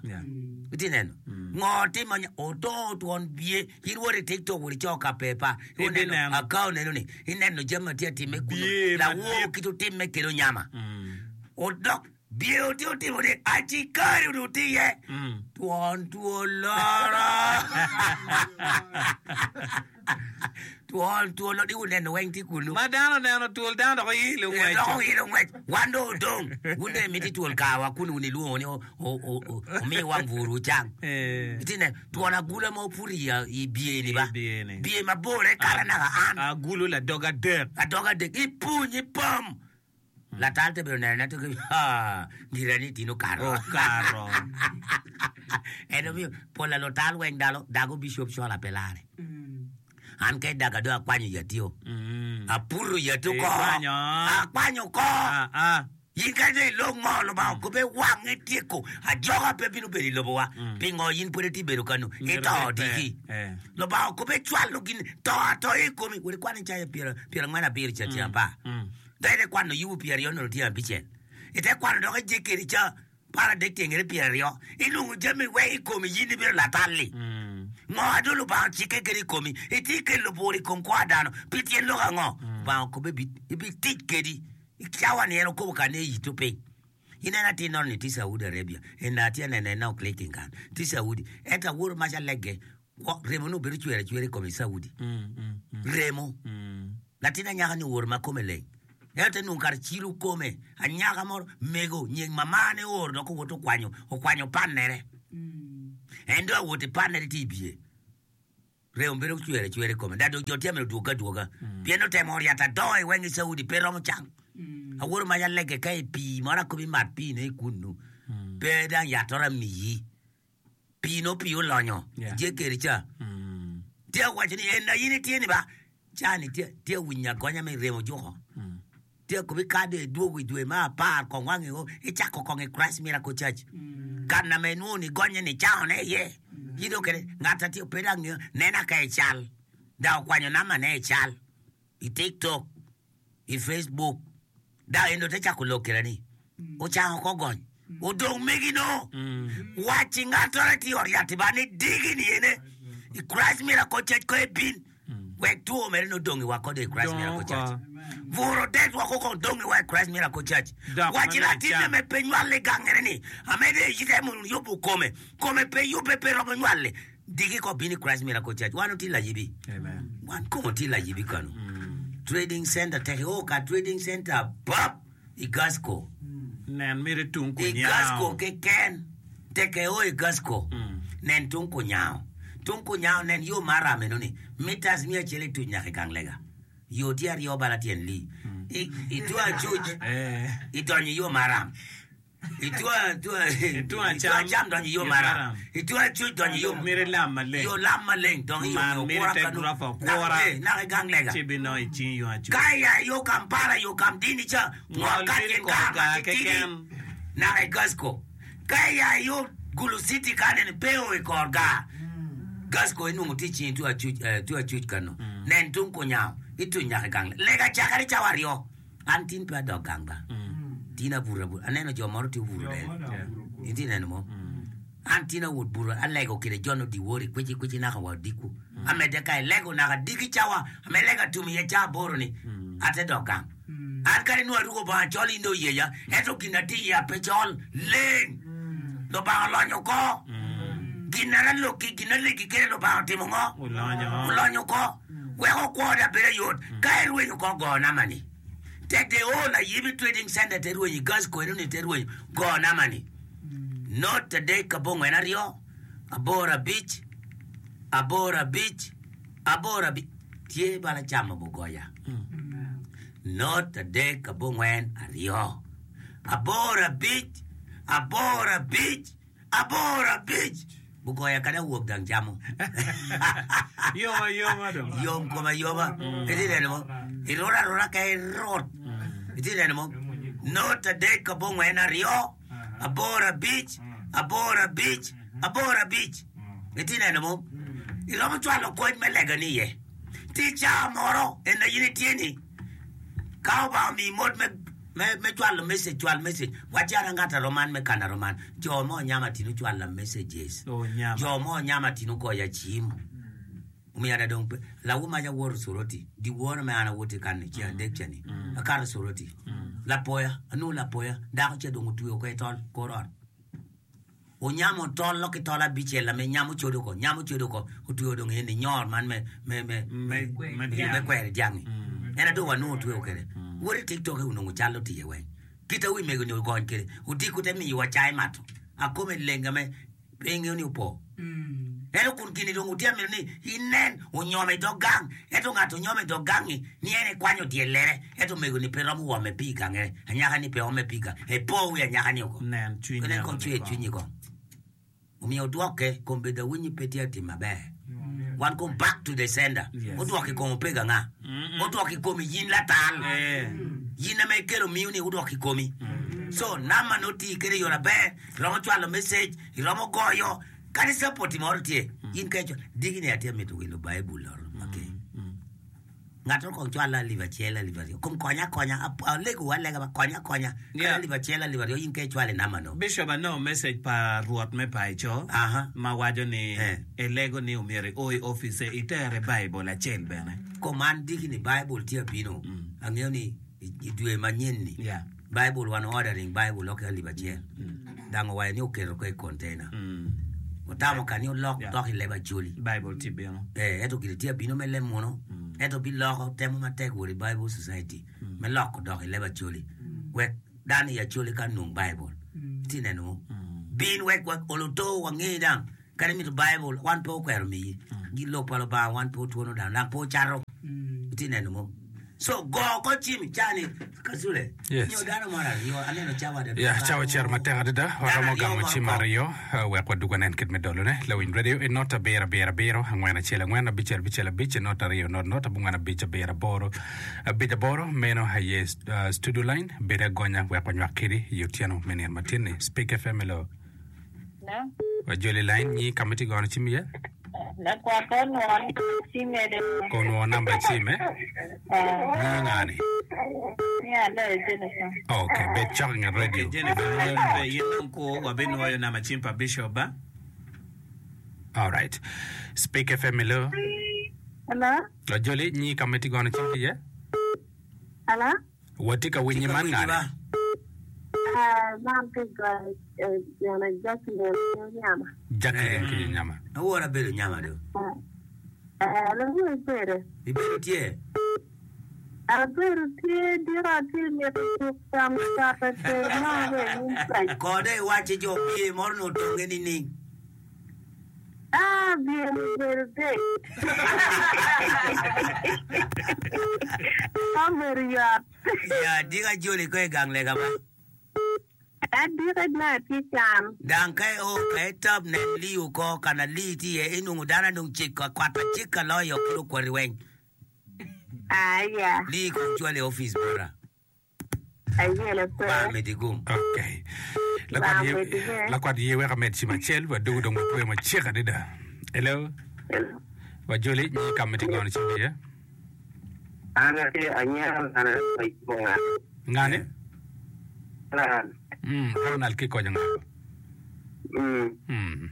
Speaker 3: Itye neno? Ngo timo onyama? Oto twon biye. In wot i tiktok wot ico ka pepa. Ineno account eno ni. Ineno jami ma tye atime kunu. Lawor kit otimme kede onyama. Odok. Dyewor tye otimo ni acikari onongo tye iye, twon twol loro. Twon twol loro, wuneno weng tye kunu.
Speaker 2: Ma dano oneno twol, dano dok oilo
Speaker 3: Eh,
Speaker 2: ngwec.
Speaker 3: Dok oilo ngwec. Wan dong odong. Wun dong imiti twol kawa kun wun ilwongo ni omi wang bur wucang.
Speaker 2: Eh.
Speaker 3: Itye neno, twon agula ma oputo i i bye-ni ba.
Speaker 2: I bye-ni.
Speaker 3: Bye mabor kara naka an.
Speaker 2: Agulu ladog adek.
Speaker 3: Adog adek. Ipuny, ipom. Latal te bedo neno ento ki haa gira ni tino okato.
Speaker 2: Okato.
Speaker 3: En omiyo pol a lutal weng dalo dago bishop cola pe lare. An ka idaga dong akwanyo yatio. Aputo yati oko.
Speaker 2: Ikwanyo.
Speaker 3: Akwanyo oko.
Speaker 2: Ah, ah.
Speaker 3: In ka dong ilok ngo Lubanga okobbe wange tyeko ajoka pe bino bedo i lobowa. Pingo in pwod itye bedo kanu?
Speaker 2: Myero
Speaker 3: Ito
Speaker 2: bed pe.
Speaker 3: diki.
Speaker 2: Eh.
Speaker 3: Lubanga okobbe cwalo gin to atoya i komi. Wek ikwan Icaya pyerangwen abiro ca tyen apar. Dok ite kwano Yubu pyeraryo onongo tye abicel. Ite kwano dok Ejekiel ca paradek tyengere pyeraryo. Inongo jami weng i komi in ibedo latal-li. Ngo a dong Lubanga ocikke kwede i komi? Itye kelo bur i kom kwo a dano pi tyen lok ango? Lubanga okobbe ebitic kedi i cawa-ni en okobo ka ni eyito piny. Ineno atir nono ni tye Saudi Arabia. Eni atye aneno en nongo clicking kan. Tye Saudi. Ento awoto mac alegge Remo nongo bedo cwer acwera i kome i Saudi. Remo. Latin anyaka-ni owoto ma kome leng. Ento te nongo kare cilo kome, anyaka moro, mego, nying mamane ooro dok owoto okwanyo, okwanyo pannere. En dong awoto i pannere tye i biye. Remo bedo cwer acwera i kome. Dok jo tye amito dwogo adwoga. Pien otemo oryato adongo i weng i Saudi, pe romo cang. Awoto mac alege ka i pii moro akobi imat pii-ne i kunnu. Pe dang yat-toro amiyi. Pii nongo pii olonyo ijekeri ca. Tye awaco ni en aye ni tye ni ba ca ni tye tye awinyo agonya me remo juko. Tye akobi ka dong idwogo i dwe me apar kong wangi o icako kong i Christ Miracle Church. Kana ma inwongo ni gonye ni icangone iye. In dong kede ngat a tye pe dong angeyo nena ka i cal. Dok okwanyo namba ne i cal i tiktok. i Facebook dok en dong te cako lok keda ni ocango oko gony odong megi no wac i ngatore tye i ot yat ba ni digi ni ene i Christ Miracle Church ko ebin wek two mere no dong i wa kode i Christ Miracle Church buro det woko kong dong i wa i Christ Miracle Church wac i latinne me pe nywale gangere ni amede itemo yubo kome kome pe yubbe pe romo nywale Diki ko bino i Christ Miracle Church wan otye layibi. Wan kong otye layibi kanu. Trading center tek o ka trading center pap i Gasco.
Speaker 2: Nen miti tung
Speaker 3: I
Speaker 2: kunyango.
Speaker 3: Gasco keken tek o i Gasco nen tung kunyango. Tung kunyango nen yo maram eno ni meters miya acel ituc nyaka i gang lega. Yo tye aryo bala tyen li. I i tung acuc idonyo i yo maram. I tung acam donyo i yo maram, i tung acuc donyo i yo
Speaker 2: Miti lam maleng.
Speaker 3: yo lam maleng dongo i yo
Speaker 2: Man
Speaker 3: me
Speaker 2: miti
Speaker 3: okura
Speaker 2: te
Speaker 3: kanu
Speaker 2: gurofa okura
Speaker 3: naka i gang lega.
Speaker 2: ci binongo i cingi yung acuc.
Speaker 3: Ka ia i yo Kampala yo Kamdini ca ngol
Speaker 2: Ngol
Speaker 3: ka
Speaker 2: miti
Speaker 3: tyen
Speaker 2: kor
Speaker 3: kar ma
Speaker 2: gar
Speaker 3: titidi
Speaker 2: keken.
Speaker 3: naka i Gasco. Ka ia i yo Gulu City ka nene pe o i kor gar Gasco inwongo tye i cingi tung acuc tung acuc kanu. Nen tung kunyango ituny nyaka i gang lega cakere cawa aryo. An tin pe adok gang ba. Tin abuto abuta. Aneno jo moro tye obuto del. Itye neno mo? An tin awot buto alego kede jo no diwori kwici kwici naka wa odiko. Amedde ka ilego naka diki cawa ame lega tum iye ca aboro ni ate dok gang. An kadi nongo aruko bongo acol in dong oyeya ento gin atye iye ape col leng. Lubanga olonyo oko. Gin na alokki gin alegi kede Lubanga otimo ngo? Olonyo oko. Wek okwo da bedo yot ka erwenyo oko go nama ni tek de o layibi trading center te rwenyo i gas ko eno ni te rwenyo go nama ni not adek abongwen aryo aboro abic aboro abic aboro abic tye bala camo bugoya not adek abongwen aryo aboro abic aboro abic Aboro abic gugoya kadi awok gang camo.
Speaker 2: Yom ayoma dong.
Speaker 3: Yom kom ayoma. Itye neno mo? Irut aruta ka irut. Itye neno mo? Not adek abongwen aryo, aboro abic, aboro abic, aboro abic. Itye neno mo? Iromo cwalo kony me lega ni iye. Tye cawa moro en aye in itye ni ka Obanga omiyi mot me Me cwalo message, cwal message. Wac an angat aroman me kana roman. Jo mo onyama tino cwala messages. Jo mo onyama tino goya cim. Omiyo ada dong pe. Lawu mac awoto Soroti. Di woro me an awoto i kan-ni ceng adek ca-ni. Akato Soroti. Lapoya, anongo lapoya. Dako ca dong otweyo oko i tol kor ot. Onyamo tol ki tol abicel ame nyamo codo oko, nyamo codo oko, otweyo dong eni nyor man me, me, me,
Speaker 2: Me, me
Speaker 3: me
Speaker 2: dyang.
Speaker 3: kweri dyang-ngi. En adong wanongo otweyo kwede. Wot i TikTok-ki onongo cal otiye weng. Kite wi mego-ni ogony kwede, odiko te miyowa cai mato. Akome leng ame pe ingeyo ni opo. Ento kun gini dong wutye amito ni inen onyome i dog gang, ento ngat onyome i dog gang-ngi ni en ekwanyo dyellere, ento omego-ni pe romo wome pi i gangere, anyaka-ni pe ome pi i gange, epo wi anyaka-ni oko.
Speaker 2: Nen cwiny
Speaker 3: Nen kong
Speaker 2: enoni
Speaker 3: cwer
Speaker 2: kong.
Speaker 3: cwinyi kong. Omiyo odwokke, kombeddi awinyi pe tye atim maber. Wan kong back to the sender.
Speaker 2: Yes.
Speaker 3: Odwoko i kom opego anga? Odwoko i komi yin latal.
Speaker 2: Eh.
Speaker 3: Yin ame ikelo miyo ni odwoko i komi. So namba ni oti kede i yo maber, iromo cwalo message, iromo goyo, kadi capoti moro tye, in ka icwalo, diki ni atye mito wilo Baibul oro make. Ngat mo kong cwalo alip acel, alip aryo, kom konya akonya, alego alega ba konya akonya, kadi
Speaker 2: Yeah.
Speaker 3: alip acel, alip aryo, in ka icwalo i namba no.
Speaker 2: Bishop anongo message pa rwot me paco
Speaker 3: Aha.
Speaker 2: ma waco ni
Speaker 3: Eh.
Speaker 2: elego ni omyero io i office itere Baibul acel bene.
Speaker 3: Kom an diki ni Baibul tye abino, angeyo ni I dwe manyen-ni, Baibul wan ordering Baibul lokke alip acel. Dang owaco ni oketo ko i container. Otamo ka ni olok dok i leb Acholi.
Speaker 2: Baibul tye bino.
Speaker 3: Eh, ento gire tye abino me leb munu. Ento biloko temo matek wot i Bible Society. me loko dok i leb Acholi wek dano i Acholi ka nong Baibul. Itye neno mo? Bin wek wa olo to wange dang kadi mito Baibul wan pe okwero miyi. Lok pa Lubanga wan pe otwono dano dang pe ocato. Itye neno mo? So go oko cim i caa-ni Kasule
Speaker 4: Yes.
Speaker 3: nyo dano moro aryo aneno cawa adada.
Speaker 4: Ya, cawa ocito matek adada.
Speaker 3: Dano
Speaker 4: Waromo
Speaker 3: aryo
Speaker 4: gamo
Speaker 3: moro
Speaker 4: cim
Speaker 3: kok.
Speaker 4: aryo eh, wek wadug wanen kit me dolone. Lawiny radio i not abiro abiro abiro angwen acel angwen abicel abicel abic not aryo not not abongwen abic abiro aboro abic aboro. Meno aye eh, studio line. Bed agonya wek wanywak kedi i otyeno me nino matin-ni. Speak FM, hello.
Speaker 5: Hello.
Speaker 4: Wajoli line nyi ka ma itye gono cim iye.
Speaker 5: Lakwat ko onwongo namba cime de.
Speaker 4: Ko onwongo namba cime. Nyi nga ni?
Speaker 5: Ni aloyo Jennifer.
Speaker 4: Ok, bed cok i nget radio.
Speaker 2: Okay, Jennifer, pe in dong kur, wabinwoyo namba cim pa Bishop ba?
Speaker 4: Alright. Speak FM hello.
Speaker 5: Hello.
Speaker 4: Wajoli nyi ka ma itye gono cim iye.
Speaker 5: Hello.
Speaker 4: Watye ka winyi man ngani?
Speaker 5: Man tye gine Jacqueline ki Onyama.
Speaker 4: Jacqueline ki Onyama.
Speaker 3: Awora abedo Onyama do.
Speaker 5: Lawiny ibedo?
Speaker 3: Ibedo tye?
Speaker 5: Abedo tye dika atye mito cuk cam cate ter mo be inyim paci.
Speaker 3: Kode iwacci jo bye moro ni otonge nining?
Speaker 5: Ah, bye ni obedo dek. Obedo yot.
Speaker 3: Ya, dika joli ko i gang lega ba.
Speaker 5: Adika dong atye can.
Speaker 3: Dang ka io ka itop nen lii oko kana lii tye iye inongo dano dong ciko akwata cika loyo kit okwati weng.
Speaker 5: Ah, ya.
Speaker 3: Lii kong cwal i opic bota.
Speaker 5: Ayelo pe.
Speaker 3: Lubanga medi gum.
Speaker 4: Okay. Lakwat
Speaker 5: Lubanga
Speaker 4: ye,
Speaker 5: medi ge.
Speaker 4: lakwat ye wek amed cim acel wadugu dong watweyo macek adada. Hello.
Speaker 5: Hello.
Speaker 4: Wajoli nyi ka ma itye gono cim iye.
Speaker 6: An atye anyira man pa
Speaker 4: Ngani?
Speaker 6: Ronald.
Speaker 4: Mm, Ronald ki konyo ngato.
Speaker 6: Mm.
Speaker 4: Mm.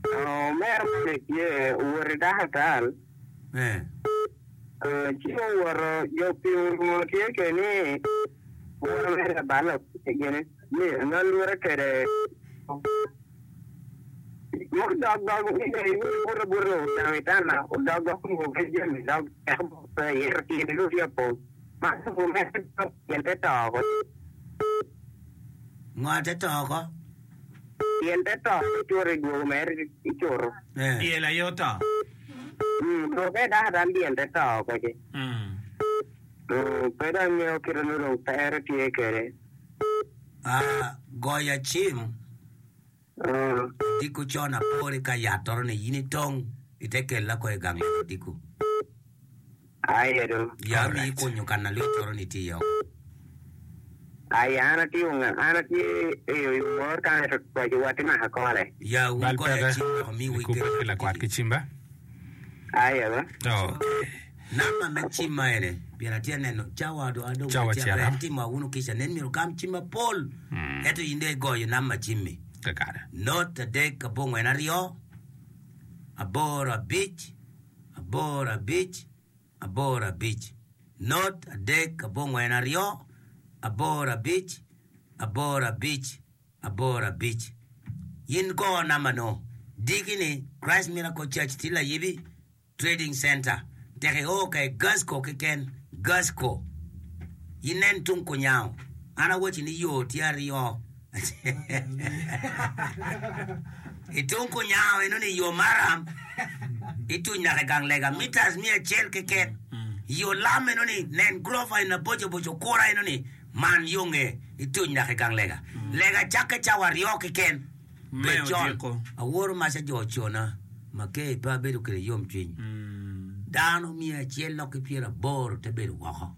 Speaker 6: Omera moni tye owot i dakatal.
Speaker 3: Eh.
Speaker 6: Ci owoto, jo pii onongo tye kede ni woro mere labalo gini ni nalure kede mudok dog buto buto ocamo itana odok dog onongo pe jami dog teko pe ito tyene dong tye apong ma lubo mere dok tyen te to oko.
Speaker 3: Ngo te to oko?
Speaker 6: Tyen te to icuro idwogo mere icuro.
Speaker 3: Eh.
Speaker 2: Dyel aye oto.
Speaker 6: Dwoke dako dano dyel te to kwede. Pe dong angeyo kite ma dong pere tye kwede.
Speaker 3: Ah, goya cim odiko con apore ka yat toro ni in itong ite kella ko i gang yat odiko.
Speaker 6: Aye do.
Speaker 3: Ya mi ikunyo kan alwit toro ni tye iye oko.
Speaker 6: Aye an atye onga an atye i omor kan ento twaci wa tye maka kole.
Speaker 3: Ya wun
Speaker 4: Bal
Speaker 3: goya
Speaker 4: peke
Speaker 3: cim wek omi wi
Speaker 4: ikubbe
Speaker 3: kel
Speaker 4: ki lakwat ki cimba.
Speaker 6: Aye ba.
Speaker 4: Okay.
Speaker 3: Namba me cim ma ene pien atye neno cawa do adong
Speaker 4: Cawa
Speaker 3: atye
Speaker 4: cito.
Speaker 3: aber timo awunu kica nen myero ogam cim mapol ento in dong igoyo namba cimmi.
Speaker 4: Kakare.
Speaker 3: Not adek abongwen aryo aboro abic aboro abic aboro abic not adek abongwen aryo aboro abic aboro abic aboro abic In go namba no diki ni Christ Miracle Church tye layibi Trading Center tek i o ka i Gasco keken Gasco in nen tung kunyango an awaci ni yo tye aryo I tung kunyango eno ni yo maram ituny naka i gang lega meters miya acel keken yo lam eno ni nen gurofa eni maboco boco kura eno ni man yo nge ituny naka i gang lega lega cakke cawa aryo keken
Speaker 2: Me
Speaker 3: bed con
Speaker 2: odiko.
Speaker 3: aworo maca jo ocona maker pe abedo kwede yomcwiny dano miya acel lok ki pyeraboro te bedo woko.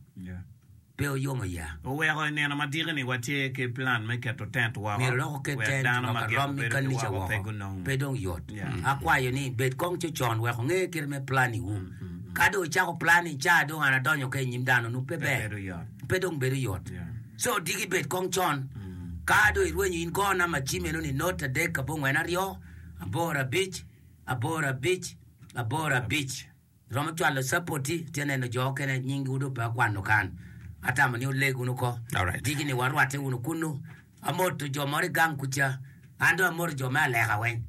Speaker 3: Pe oyomo ya.
Speaker 2: Oweko i nino ma diki-ni watye ki plan me keto tent woko
Speaker 3: Myero dok oket
Speaker 2: wek
Speaker 3: tent
Speaker 2: dano ma
Speaker 3: wek
Speaker 2: gito
Speaker 3: arom ki
Speaker 2: bedo ki
Speaker 3: kanica
Speaker 2: woko pe
Speaker 3: woko.
Speaker 2: gunong.
Speaker 3: Pe dong yot.
Speaker 2: Yeah.
Speaker 3: Akwayo ni bed kong cocon wek onge kite me planiwu. Ka dong icako plani ca dong an adonyo ka i nyim dano nu pe
Speaker 2: Pe
Speaker 3: ber.
Speaker 2: bedo yot.
Speaker 3: Pe dong bedo yot.
Speaker 2: Yeah.
Speaker 3: So diki bed kong con. Ka dong irwenyo in go namba cim eno ni not adek abongwen aryo aboro abic aboro abic aboro abic. Romo cwalo capoti, tye neno jo okene nyinggi dong pe akwano kan. Atamo ni wuleg wunu ko.
Speaker 4: Alright.
Speaker 3: Diki ni warwatte wunu kunnu. Amoto jo moro i gang kuca. An dong amoto jo me Aleka weng.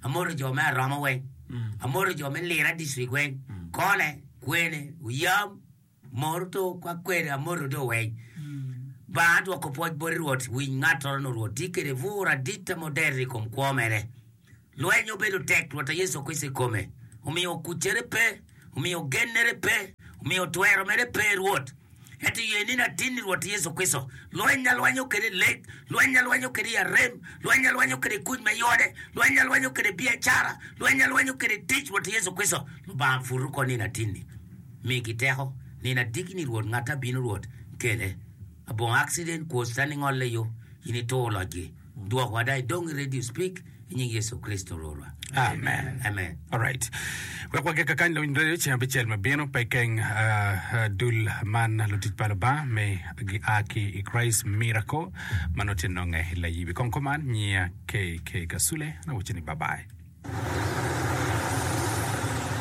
Speaker 3: Amoto jo me Aromo weng. Amoto jo me Lira district weng. Kone, Kwene, Oyam. Mor to kwa kwede amoto do weny. Banga adwoko pwoc boti Rwot, winy ngattoro nu Rwot tye kede bur adit ma oderre i kom kwo mere. Lweny obedo tek Rwot a Yecu Kricito i kome, omiyo kuccere pe, omiyo gennere pe, omiyo twero mere pe Rwot. Ento ye nino atin ni Rwot Yecu Kricito, lweny alwenyo kede i lek, lweny alwenyo kede i arem, lweny alwenyo kede i kuc me yode, lweny alwenyo kede i biacara, lweny alwenyo kede i tic Rwot Yecu Kricito, Lubanga putu oko nino atin-ni. Migi teko. Nino adiki ni Rwot ngat abino Rwot kele. Abongo accident kwo citani ngolle yo in itur locgi. Dwok wa da idong i radio speak i nying Yecu Kricito Rwotwa.
Speaker 4: Amen.
Speaker 3: Amen.
Speaker 4: Alright. Wek wagik kakany lawiny radio ceng abicel ma bino pe keng uh, dul man lutic pa Lubanga me gia ki i Christ Miracle ma nongo tye nonge i Layibi. Kong kuman nyiya KK Kasule na wacci ni bye bye.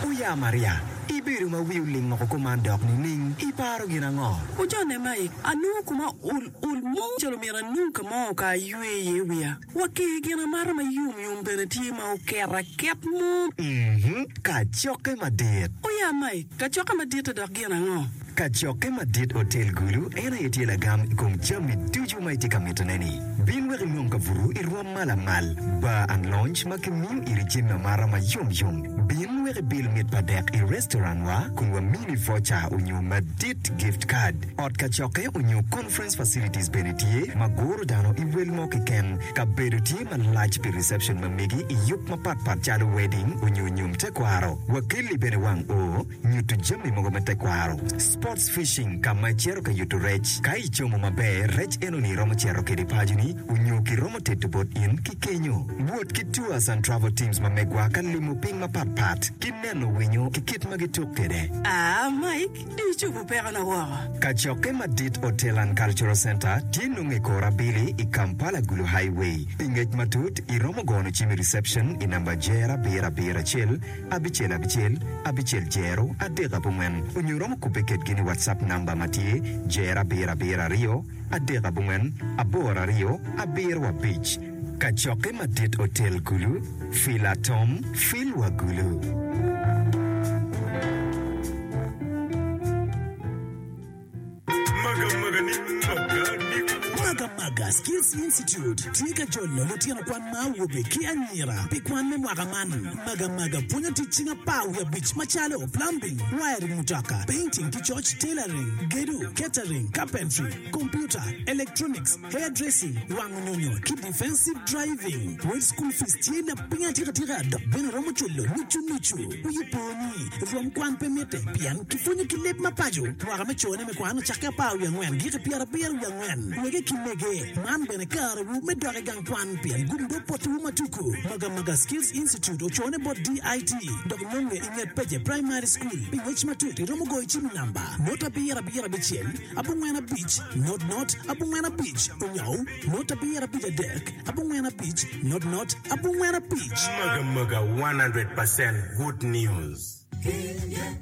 Speaker 7: Oya Maria, ibedo ma wi oling woko kuman dok nining? Iparo gin ango?
Speaker 8: Ojone Mike, anongo koma ol ol mo calo myero anong ka mo ka aywe iye wiya. Wa ki gin amata ma yom yom bene tye ma oket aket mo.
Speaker 7: Mhm, kacokke madit.
Speaker 8: Oya Mike, kacokke madit-te dok gin ango?
Speaker 7: Kacokke madit Otel Gulu en aye tye lagam i kom jami ducu ma itye ka mitone-ni. Bin wek inong kabuto i rwom ma lamal, bar and lounge ma kimiyo iri jami amata ma yom yom. Bin wek ibil mit pa dek i restaurant wa kun wamini voucher onyo madit gift card. Ot kacokke onyo conference facilities bene tye ma guro dano i wel mo keken. Kabedo tye malac pi reception ma megi i yub mapat pat calo wedding onyo nyom tekwaro. Wakelli bene wang oo. Nyuto jami mogo me tekwaro. Sports fishing ka ma icito ka yuto rec. Ka icomo maber, rec enoni iromo cito kede paconi onyo kiromo teto bot in ki kenyo. Wot ki tours and travel teams ma megwa ka limo piny mapat pat ki neno winyo ki kit ma gituk kede.
Speaker 8: Aa Mike, dong icobo pekona woko.
Speaker 7: Kacokke madit Hotel and Cultural Centre tye nongo i kor abili i Kampala Gulu Highway. Pi ngec matut, iromo gono cim i reception i namba jer abiro abiro acel, abicel abicel, abicel jero, adek abongwen, onyo iromo kubbe kedgi ni WhatsApp namba ma tye jero abiro abiro aryo, adek abongwen, aboro aryo, abiro abic. Kacokke madit otel Gulu, Fil atom, fil wa Gulu.
Speaker 9: Magamaga Skills Institute tye ka jolo lutino kwan ma awobe ki anyira pi kwan me mwaka man. Magamaga pwonyo tic cing apar wiye abic macalo, plumbing, wiring mutoka, painting ki coc, tailoring, gedo, catering, carpentry, computer, electronics, hair dressing, wango nyonyo ki defensive driving. Wel school fees tye lapiny atika tika dok bene romo culo nucu nucu. Wi opo ni, rwom kwan pe mitte pien kipwonyo ki leb ma paco. Mwaka me cone me kwan ocakke apar wiye angwen giki pyerabiro wiye angwen. Wege ki mege, man bene karewu me dok i gang kwan pien gum dog potiwu ma tuku. Magamaga Skills Institute ocone bot DIT dok nonge i nget Pece Primary School. Pi ngec matut iromo goyo cim i namba, not abiro abiro abicel, abongwen abic, not not, abongwen abic, onyo not abiro abic adek, abongwen abic, not not, abongwen abic.
Speaker 10: Magamaga 100% good news.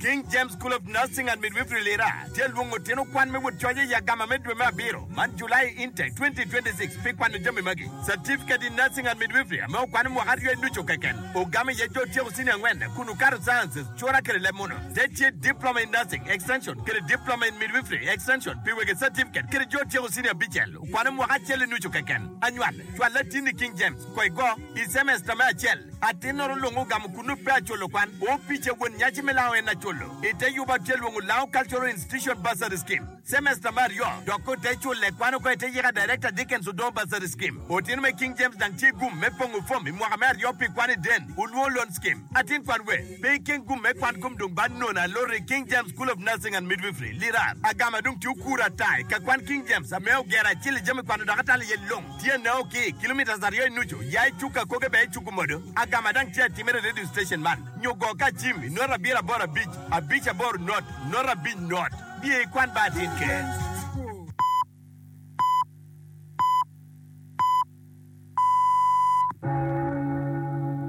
Speaker 1: King James School of Nursing and Midwifery Lira tye lwongo tino kwan me wot coc i agama me dwe me abiro man, July Intake 2026, pi kwano jami magi, Certificate in Nursing and Midwifery ame okwano mwaka aryo i nucu keken, ogamo iye jo otyeko senior angwen kun okato Sciences, Cura kede leb muno. Te tye Diploma in Nursing, Extension, kede Diploma in Midwifery, Extension, pi wege certificate kede jo otyeko senior abicel okwano mwaka acel i nucu keken. Anywal, cwal latinni i King James, ko igo, i semester me acel. Atinnoro lung ogamo kunnu pe aculo kwan. Opice won nyaci me lango en aculo. I te yuba tye lwongo Lango Cultural Institution Bursary Scheme. Semester me aryo, dok ko te cule kwan oko i te yika Director Dickens Odongo Bursary Scheme. Otino me King James dang tye gum me pongo fom i mwaka me aryo pi kwan i Den Olwongo Loan Scheme. Atin kwan we, pe ikeng gum me kwan kom dong ba nono aloti i King James School of Nursing and Midwifery, Lirar. Agama dong tye okuro ata i ka kwan King James ame ogero acel i jami kwano dok atalo iye long. Tye nao ki kilometres aryo i nucu ya i cuk akoge bene i cuk omodo. Agama dang tye atimere i radio station man nyo go ka cim i not abiro aboro abic abic aboro not not abic not. Biye ikwan ba atin ker.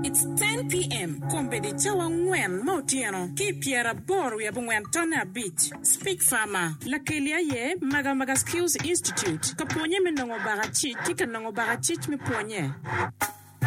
Speaker 8: It's 10 PM, Kombeddi cawa angwen ma otyeno ki i pyeraboro wiye abongwen tonne abic. Speak Farmer, Lakeli aye Magamaga Skills Institute ka pwonye me nongo bakacic ki ka nongo bakacic me pwonye.